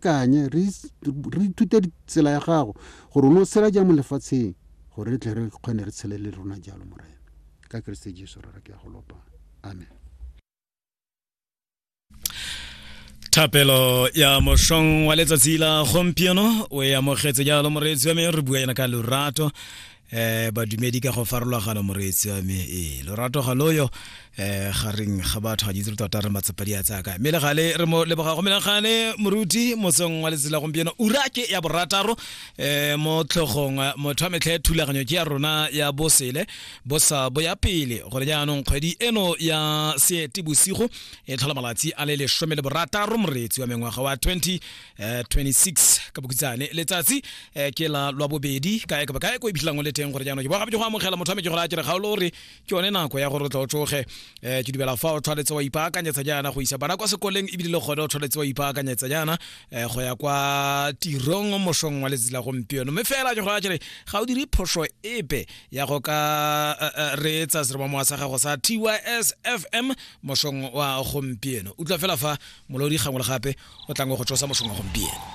Kanye re ithute tsela ya gago gore o ne o tshela jang mo lefatsheng gore re tle re kgone re tshele le rona jalo morena ka keresete jesu rara ke ya go lopa amen Thapelo ya mošong wa letsatsi la gompieno o e amogetse jalo moreetsi wa me re bua yana ka lorato eh badumedi ka go farologana moreetsi wa me ee lorato ga loyo eh gareng ga batho ga ditse tota re matsapa di a tsaya kae mme le gale re mo leboga go menagane moruti motseng wa letsatsi la gompieno ura ke ya borataro eh mo tlhogong motho wa metlhe thulaganyo ke ya rona ya bosele bosa bo ya pele gore jaanong kgwedi eno ya seete bosigo e tlhola malatsi a le lesome le borataro moreetsi wa mengwaga wa 2026 eh, ka bokhutshane letsatsi eh, ke la lwa bobedi kae kapa kae ko iphitlhelang o le teng gore jaanong ke bogape ke go amogela motho wa me ke gore a kere ga o le gore ke yone nako ya gore o tla o tsoge um ke dumela fa o tshwanetse wa ipaakanyetsa jaana go isa bana kwa sekoleng ebile le gone o tshwanetse wa ipaakanyetsa jaana um go ya kwa tirong mosong wa letsatsi la gompieno mme fela ke gore a kere ga o dire phoso epe ya go ka eh, eh, reetsa seromamowa sa gago sa tys fm mosong wa gompieno utlwa fela fa molodi gangwe le gape o tlang go tsosa mosong wa gompieno.